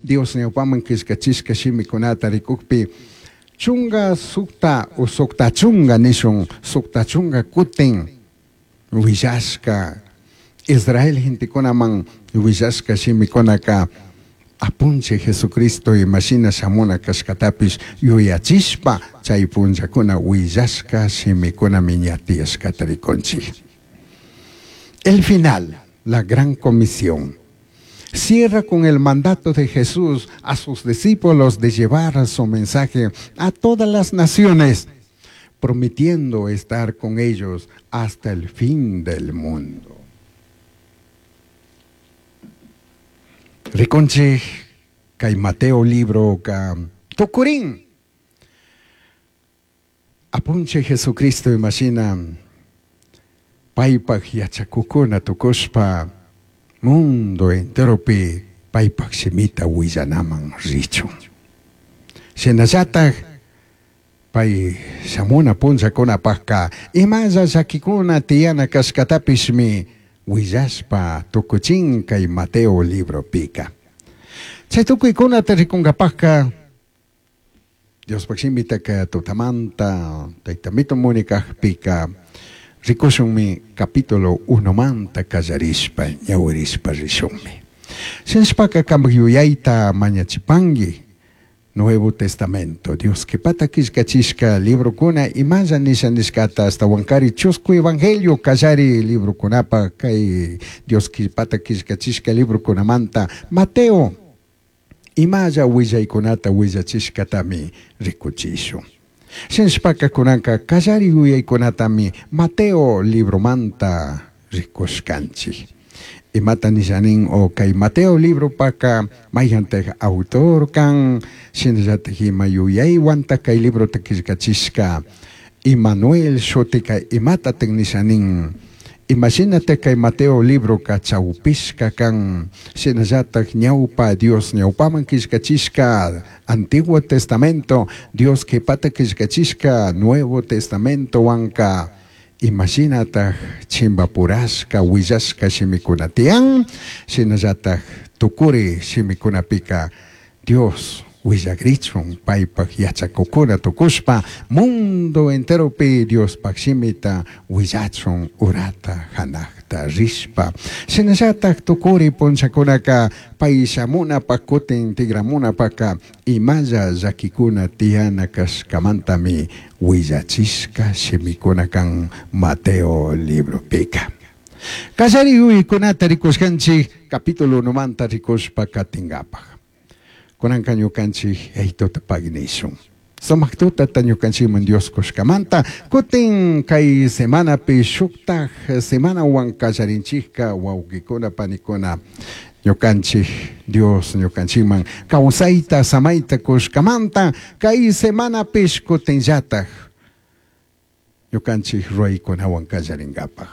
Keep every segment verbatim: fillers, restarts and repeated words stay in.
Dios ñawpaman killkachishka shimikunata rikukpi chunga sukta o sukta chunga nishun sukta chunga kutin willashka Israel gentekunaman willashka shimikunaka apunchik Jesucristo imashina shamuna kashkatapish yuyachishpa chay punllakuna willashka shimikunami ña tiyashkata rikunchik. El final, la gran comisión, cierra con el mandato de Jesús a sus discípulos de llevar su mensaje a todas las naciones, prometiendo estar con ellos hasta el fin del mundo. Rikunchik kay Mateo libro ka tukurin apunchik Jesucristo imashina paypaj yachakukuna tukushpa mundo enteropi paypaj shimita willanaman richun. Shinallataj pay shamuna punllakunapajka imalla llakikuna tiyana kashkatapishmi willashpa tukuchin kay Mateo libropika. Chay tukuykunata rikunkapajka Diospaj shimitaka tutamanta taytamito munikajpika rikushunmi capítulo unomanta kallarishpa ñawirishpa rishunmi. Shinashpaka kanpak yuyayta mañachipanki Nuevo Testamento, Dios qhipata killkachishka librokuna imalla nisha nishkata ashtawankari chusku evangelio kallari librokunapa kay Dios qhipata killkachishka librokunamanta Mateo imalla willaykunata willachishkatami rikuchishun. Shinashpaka kunanka kallari yuyaykunatami Mateo libromanta rikushkanchik. Imata nishanin o kay Mateo libropaka mayqantaq autor kan shinallataj ima yuyaywanta kay librota killkachishka Immanuel shutika imatataj nishanin imashinataq kay Mateo libroka chawpishka kan shinallataj ñawpa Dios ñawpaman killkachishka Antiguo Testamento Dios qhipata killkachishka Nuevo Testamento wanka imashinataj chimpapurashka willashka shimikuna tiyan shinallataj tukuri shimikunapika Dios willakrichun paypaj yachakukuna tukushpa mundo enteropi Diospaj shimita willachun urata hanaqta rishpa shinallataj tukuri punllakunaka pay shamunapaj kutin tigramunapaka imalla llakikuna tiyana kashkamantami willachishka shimikuna kan Mateo libropika. Kallari yuyaykunata rikushkanchik capítulo unomanta rikushpa katinkapaj. Kunanka ñukanchik yaytuta paginishun. Sumaq tutata ñukanchikman Dios kushkamanta kutin kay semanapi shuktaj semanawan kallarinchikka wawqikuna panikuna ñukanchik Dios ñukanchikman kawsayta samayta kushkamanta kay semanapish kutinllataj ñukanchik ruraykunawan kallarinkapaj.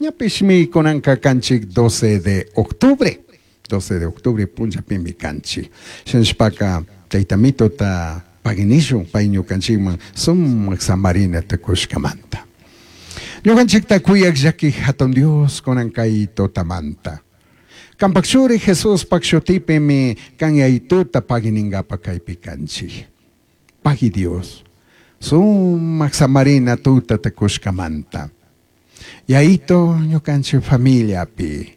Ñapishmi kunanka kanchik doce de octubre. doce de octubre punllapimi kanchik. Shinashpaka taytamitota paginishun pay ñukanchikman sumaq samarinata kushkamanta. Ñukanchikta kuyaq llaki hatun Dios kunan kay tutamanta. Kanpak churi Jesuspaq shutipimi kan yaytuta pagininkapa kaypi kanchik. Pagi Dios sumaq samarina tutata kushkamanta. Yayito ñukanchik familiapi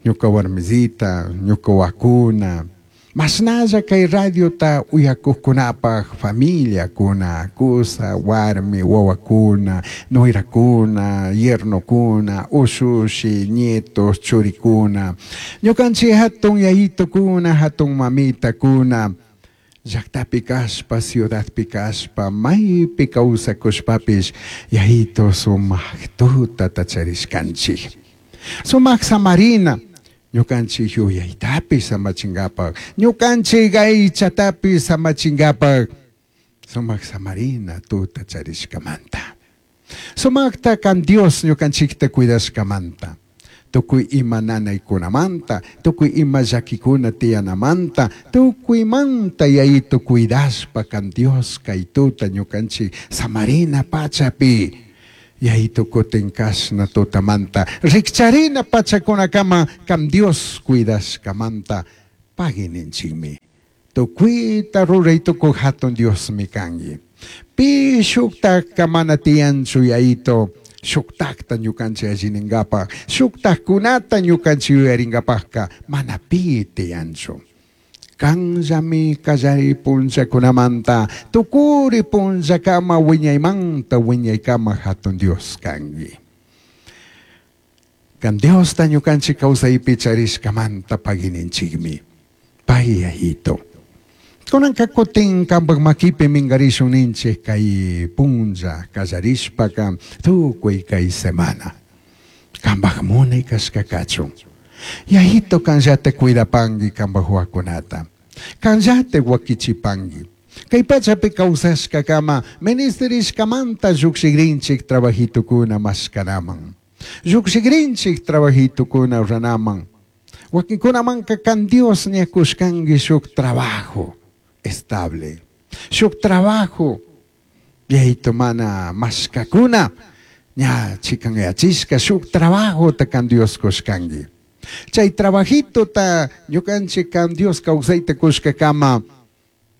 ñuka warmisita, ñuka wakuna, mashnalla kay radiota uyakuqkunapaj familiakuna, kusa, warmi, wawakuna, nuerakuna, yernokuna, ushushi, nietos, churikuna, ñukanchik hatun yayitukuna, hatun mamitakuna, llaqtapi kashpa, ciudadpi kashpa, maypi kawsakushpapish yayito sumaq tutata charishkanchik. Sumaq samarina ñukanchik yuyaytapish samachinkapaj, ñukanchik aychatapish samachinkapaj, sumaq samarina tuta charishkamanta. Sumaqta kan Dios ñukanchikta cuidashkamanta, tukuy ima nanaykunamanta, tukuy ima llakikuna tiyanamanta, tukuymanta yayito cuidashpa kan Dios kay tuta ñukanchik samarina pachapi. Yayito kutin kashna tutamanta, rikcharina pachakunakama kan Dios cuidashkamanta, pagininchikmi. Tukuyta ruray tukuy hatun Diosmi kanki. Pi shuktakka mana tiyanchu Yayito, shuktakta ñukanchik allininkapaq, shuktakkunata ñukanchik yuyarinkapaqka mana pi tiyanchu. Kanllami kallari punllakunamanta, tukuri punllakama wiñaymanta wiñaykama hatun Dios kanki. Kan Diosta ñukanchik kawsaypi charishkamanta pagininchikmi. Pay Yayito. Kunanka kutin kanpak makipi minkarishun ninchik kay punlla kallarishpaka tukuy kay semana. Kanpak munay kashka kachun. Yayito kanllata cuidapanki kanpak wawakunata. Kanllata wakichipanki. Kay pachapi kawsashkakama ministerishkamanta llukshikrinchik trabajitukuna mashkanaman. Llukshikrinchik trabajitukuna ruranaman. Wakinkunamanka kan Dios ña kushkanki shuk trabajo estable. Shuk trabajo Yayito mana mashkakuna ña chikanyachishka shuk trabajota kan Dios kushkanki. Chay trabajito ta ñukanchik kan Dios kawsayta kushkakama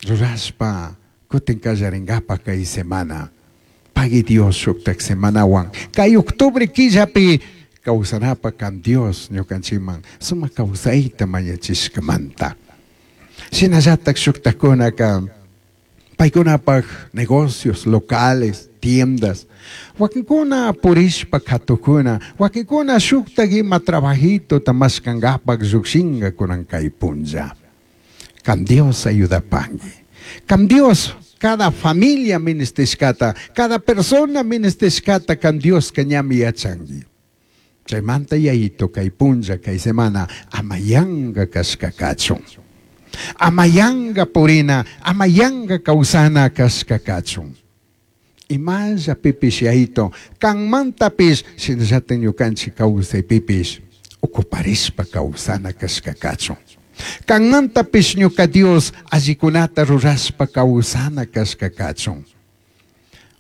rurashpa kutin kallarinkapa kay semana. Pagui Dios shuktak semanawan. Kay octubre killapi kawsanapa kan Dios ñukanchikman sumak kawsayta mañachishkamanta. Shinallatak shuktakunaka paykunapaq negocios locales, tiendas. Wakinkuna purishpa katukuna, wakinkuna shuktak ima trabajito mashkankapak llukshinka kunan kay punlla. Kan Dios ayudapanki. Kan Dios cada familia ministishkata, cada persona ministishkata kan Dios ñami yachanki. Chaymanta Yayito kay punlla kay semana amayanga kashka kachun. Amayanga purina, amayanga kawsana kashka kachun. Imalla pipish Yayito, kanmantapish shinallata ñukanchik kawsaypipish ocuparishpa kawsana kashka kachun. Kanmantapish ñuka Dios allikunata rurashpa kawsana kashka kachun.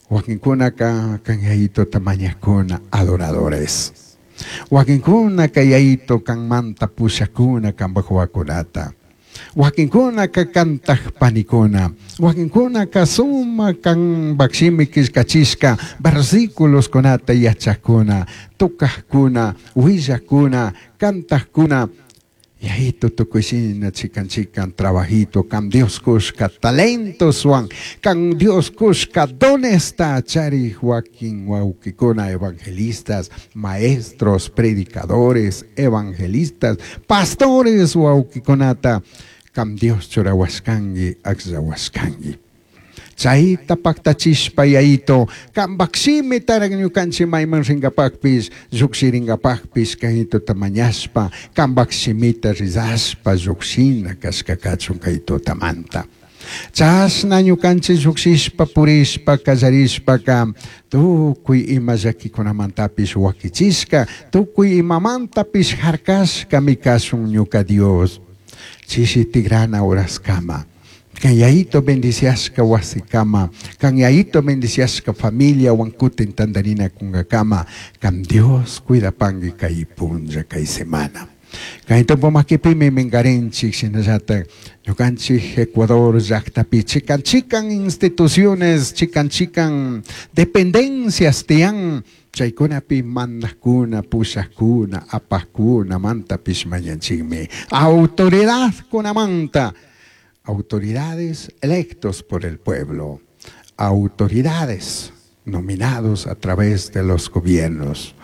Wakinkunaka kan Yayitota mañakuna adoradores. Wakinkunaka Yayito kanmanta pushakuna kanpak wawakunata. Wakinkunaka kantak panikuna. Wakinkunaka sumak kanpak shimi killkachishka versículos kunata yachakuna, tukajkuna, willakuna, kantajkuna. Yayito tukuy shina chikan chikan trabajito kan Dios kushka talentoswan kan Dios kushka donesta charik wakin wawkikuna evangelistas, maestros, predicadores, evangelistas, pastores wawkikunata kan Dios churawashkanki akllawashkanki. Chayta paktachishpa Yayito kanpak shimitarak ñukanchik mayman rinkapakpish llukshirinkapakpish kaytota mañashpa kanpak shimita rizashpa llukshina kashka kachun kay tutamanta. Chashna ñukanchik llukshishpa purishpa kallarishpaka tukuy ima llakikunamantapish wakichishka tukuy imamantapish harkashkami kashun ñuka Dios. Chishi tigrana horaskama. Kan Yayito bendiciashka wasikama, kan Yayito bendiciashka familia wankutin tandarina kungakama, kan Dios cuidapanki kay punlla kay semana. Kay makipimi minkarinchik shinallata ñukanchik Ecuador llaktapi chikan chikan instituciones, chikan chikan dependencias tiyan chaykunapi mandakuna, pushakuna, apakuna mantapish mañanchikmi. Autoridad kunamanta. Autoridades electos por el pueblo, autoridades nominados a través de los gobiernos.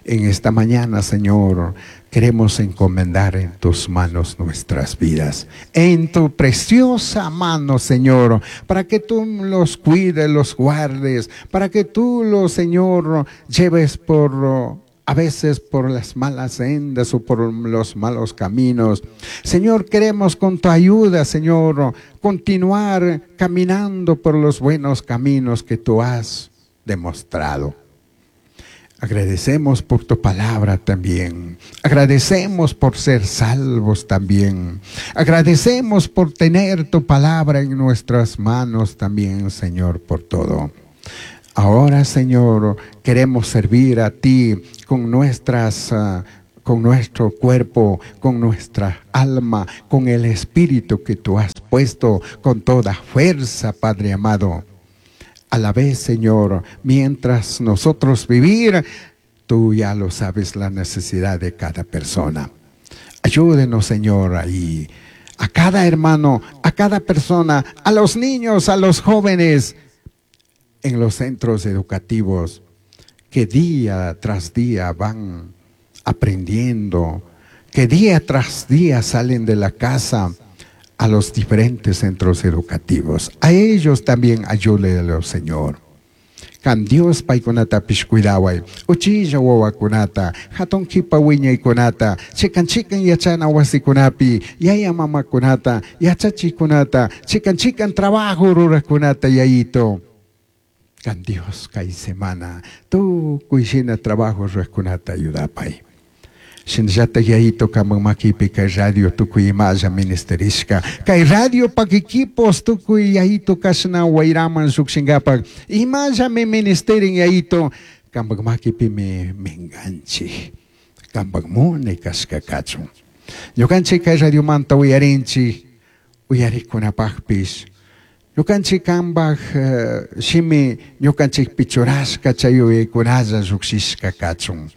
En esta mañana, Señor, queremos encomendar en tus manos nuestras vidas, en tu preciosa mano, Señor, para que tú los cuides, los guardes, para que tú los, Señor, lleves por a veces por las malas sendas o por los malos caminos. Señor, queremos con tu ayuda, Señor, continuar caminando por los buenos caminos que tú has demostrado. Agradecemos por tu palabra también. Agradecemos por ser salvos también. Agradecemos por tener tu palabra en nuestras manos también, Señor, por todo. Ahora, Señor, queremos servir a ti con nuestras, uh, con nuestro cuerpo, con nuestra alma, con el espíritu que tú has puesto con toda fuerza, Padre amado. A la vez, Señor, mientras nosotros vivir, tú ya lo sabes la necesidad de cada persona. Ayúdenos, Señor, ahí. A cada hermano, a cada persona, a los niños, a los jóvenes en los centros educativos que día tras día van aprendiendo, que día tras día salen de la casa a los diferentes centros educativos. A ellos también ayúdelos, Señor. Can Dios paykunatapish cuidaway, uchilla wawakunata, hatun kipa wiñaykunata, chikan chikan yachana wasikunapi, yaya mamakunata, yachachikunata, chikan chikan trabajo rurakunata yayito. Can Dios kay semana, tukuy shina trabajo rurakunata ayudapay. Shinallata yayito kaman makipi kay radio tukuy imalla ministerishka. Kay radio pak equipos tukuy yayito kashna wayraman llukshinkapak. Imallami ministerin yayito kampak makipimi minganchik. Kampak munay kashka kachun. Ñukanchik kay radiomanta uyarinchik uyarikunapakpish. Ñukanchik kampak uh, shimi ñukanchikpi churashka chay uyaykunalla llukshishka kachun.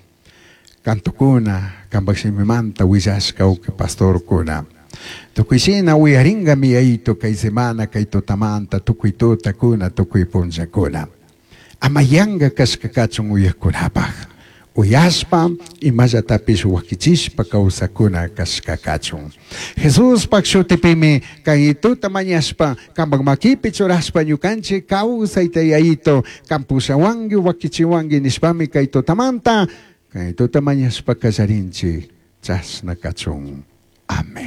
Cantokuna, kampak shimimanta willashka uke pastorkuna. Tukuy shina uyaringami yayito kay semana kay tutamanta tukuy tutakuna tukuy punllakuna. Ama yanka kashka kachun uyakunapaj. Uyashpa imallatapish wakichishpa kawsakuna kashka kachun. Jesuspak shutipimi kay tuta mañashpa kampak makipi churashpa ñukanchik kawsayta yayito kampushawanki wakichiwanki nishpami kay tutamanta kay tuta mañashpa kallarinchik chashna kachun. Amén.